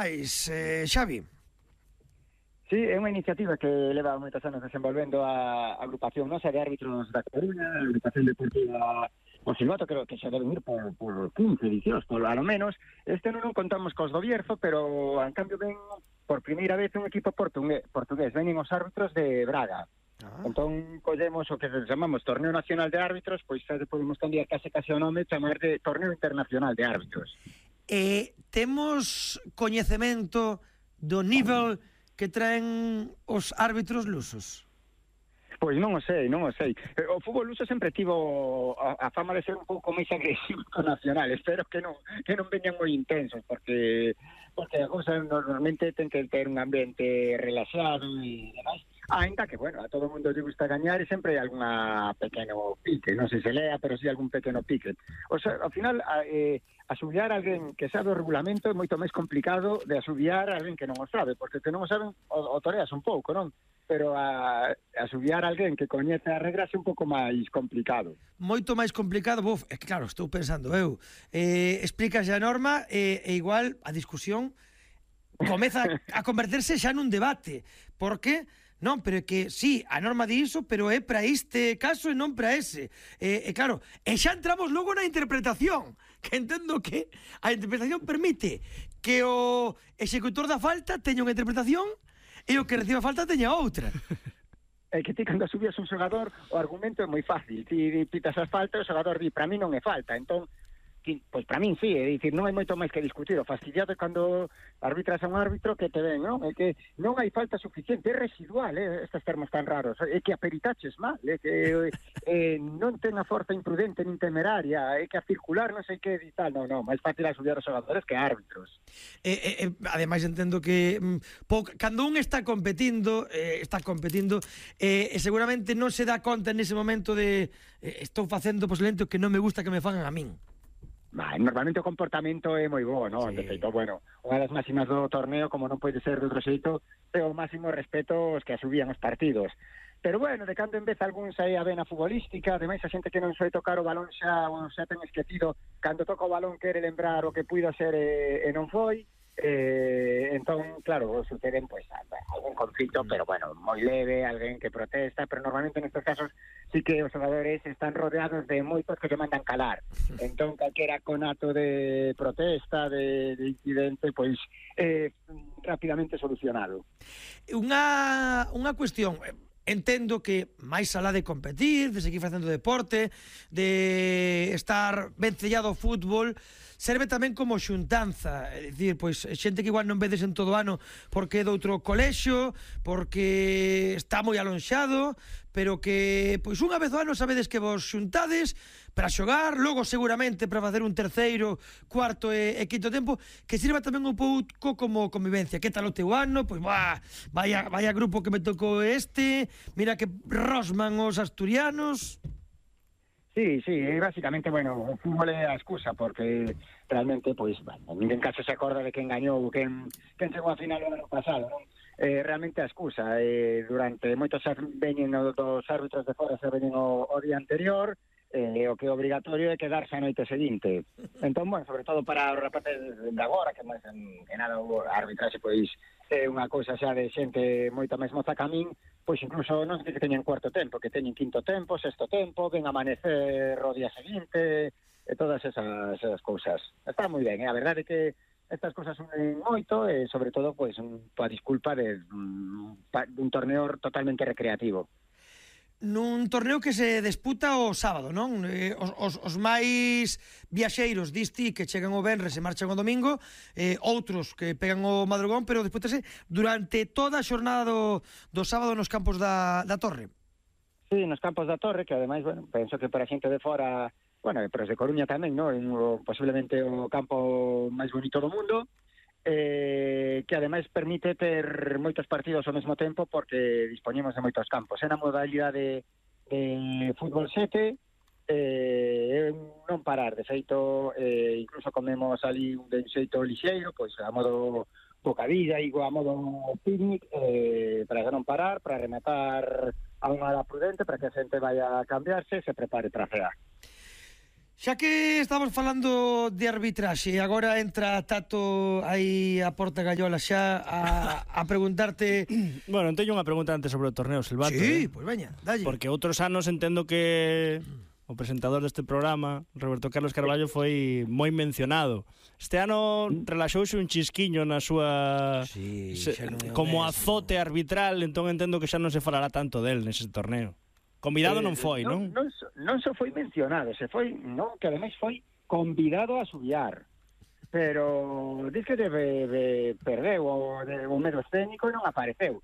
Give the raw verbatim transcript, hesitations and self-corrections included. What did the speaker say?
Eh, Xavi. Sí, é unha iniciativa que leva moitos anos desenvolvendo a agrupación nosa de árbitros da Coruña, a agrupación deportiva o Silvato, creo que xa deben ir por, por quince edicións, por a lo menos. Este non contamos cos do Bierzo, pero en cambio ven por primeira vez un equipo portugués, portugués. Venen os árbitros de Braga. Ah. Entón collemos o que chamamos Torneo Nacional de Árbitros, pois xa podemos cambiar case case o nome, chamar de Torneo Internacional de Árbitros. Eh, temos coñecemento do nivel que traen os árbitros lusos? Pois non o sei, non o sei. O fútbol luso sempre tivo a, a fama de ser un pouco máis agresivo que o nacional. Espero que non que non veñan moi intensos, porque porque a cousa normalmente ten que ter un ambiente relaxado e demais. Ainda que, bueno, a todo o mundo lle gusta gañar e sempre hai alguna pequeno pique, non sei se lea, pero si sí algún pequeno pique. O sea, ao final, eh, asubiar a alguén que sabe o regulamento é moito máis complicado de asubiar a alguén que non o sabe, porque que non o saben o, o toreas un pouco, non? Pero a, a asubiar a alguén que coñece as regras é un pouco máis complicado. Moito máis complicado, buf, é claro, estou pensando eu. Eh, explícase a norma e, e igual a discusión comeza a converterse xa nun debate. Por que? Non, pero é que, sí, a norma di iso, pero é para este caso e non para ese. E, e claro, e xa entramos logo na interpretación, que entendo que a interpretación permite que o executor da falta teña unha interpretación e o que reciba falta teña outra. É que ti, cando subías un xogador, o argumento é moi fácil. Ti pitas as faltas, o xogador di, para mí non é falta. Entón, pois para min sí, é dicir, non hai moito máis que discutir. O fastidiado é cando arbitras a un árbitro que te ven, non? É que non hai falta suficiente, é residual, eh, estes termos tan raros, é que a peritaches mal, é que eh, non ten a forza imprudente nin temeraria, é que a circular non sei que e tal, non, non, máis fácil asubiar os xogadores que árbitros. Eh, eh, ademais entendo que mm, po, cando un está competindo, eh, está competindo, eh, e seguramente non se dá conta nese momento de eh, estou facendo posiblemente o que non me gusta que me fagan a min. Bah, normalmente o comportamento é moi bo, non? Sí. De feito, bueno, unha das máximas do torneo, como non pode ser de outro xeito, é o máximo respeto aos que asubían os partidos. Pero bueno, de cando en vez algún sae a vena futbolística, ademais a xente que non soe tocar o balón xa, ou xa ten esquecido, cando toca o balón quere lembrar o que puido ser e, e non foi. Eh, entón, claro, suceden pois pues, algún conflito, pero bueno, moi leve, alguén que protesta, pero normalmente nestes casos sí que os xogadores están rodeados de moitos que se mandan calar. Entón, calquera conato de protesta, de, de incidente, pois eh, rapidamente solucionado. Unha, unha cuestión, entendo que máis alá de competir, de seguir facendo deporte, de estar vencellado ao fútbol, serve tamén como xuntanza, é dicir, pois xente que igual non vedes en todo o ano porque é de outro colexio, porque está moi alonxado, pero que pois unha vez ao ano sabedes que vos xuntades para xogar, logo seguramente para facer un terceiro, cuarto e, e quinto tempo, que sirva tamén un pouco como convivencia. Que tal o teu ano? Pois bah, vaya, vaya grupo que me tocou este, mira que rosman os asturianos. Sí, sí, básicamente, bueno, o fútbol é a excusa, porque realmente, pois, bueno, ninguén caso se acorda de quen gañou, quen, quen chegou a final o ano pasado, non? Eh, realmente a excusa, eh, durante moitos veñen dos árbitros de fora, se veñen o, o día anterior, eh, o que é obrigatorio é quedarse a noite seguinte. Entón, bueno, sobre todo para os rapaces de agora, que máis en, en nada o arbitraxe, pois, é unha cousa xa de xente moita máis moza que a min, pois incluso non sei que teñen cuarto tempo, que teñen quinto tempo, sexto tempo, ven amanecer o día seguinte, e todas esas, esas cousas. Está moi ben, eh? A verdade é que estas cousas son moito, e sobre todo, pois, un, a disculpa de un, un torneo totalmente recreativo. Nun torneo que se disputa o sábado, non? Eh, os, os, os máis viaxeiros disti que chegan o venres e marchan o domingo, eh, outros que pegan o madrugón, pero dispútase durante toda a xornada do, do sábado nos campos da, da Torre. Sí, nos campos da Torre, que ademais, bueno, penso que para a xente de fora, bueno, pero de Coruña tamén, non? O, posiblemente o campo máis bonito do mundo, eh, que ademais permite ter moitos partidos ao mesmo tempo porque dispoñemos de moitos campos. É na modalidade de, de fútbol sete, eh, non parar, de feito, eh, incluso comemos ali un de xeito lixeiro, pois a modo bocadilla, igual a modo picnic, eh, para non parar, para rematar a unha hora prudente, para que a xente vaya a cambiarse e se prepare para cear. Xa que estamos falando de arbitraxe, agora entra Tato aí a porta gallola xa a, a preguntarte... Bueno, teño unha pregunta antes sobre o torneo, Silvato. Sí, eh? pois pues veña, dalle. Porque outros anos entendo que o presentador deste programa, Roberto Carlos Carballo, foi moi mencionado. Este ano relaxouse un chisquiño na súa... Sí, se, non é como mesmo. azote arbitral, entón entendo que xa non se falará tanto del nese torneo. Convidado eh, non foi, non? Non, non, non só foi mencionado, se foi, non, que ademais foi convidado a subiar. Pero diz que debe de perdeu o, de, o medio escénico e non apareceu.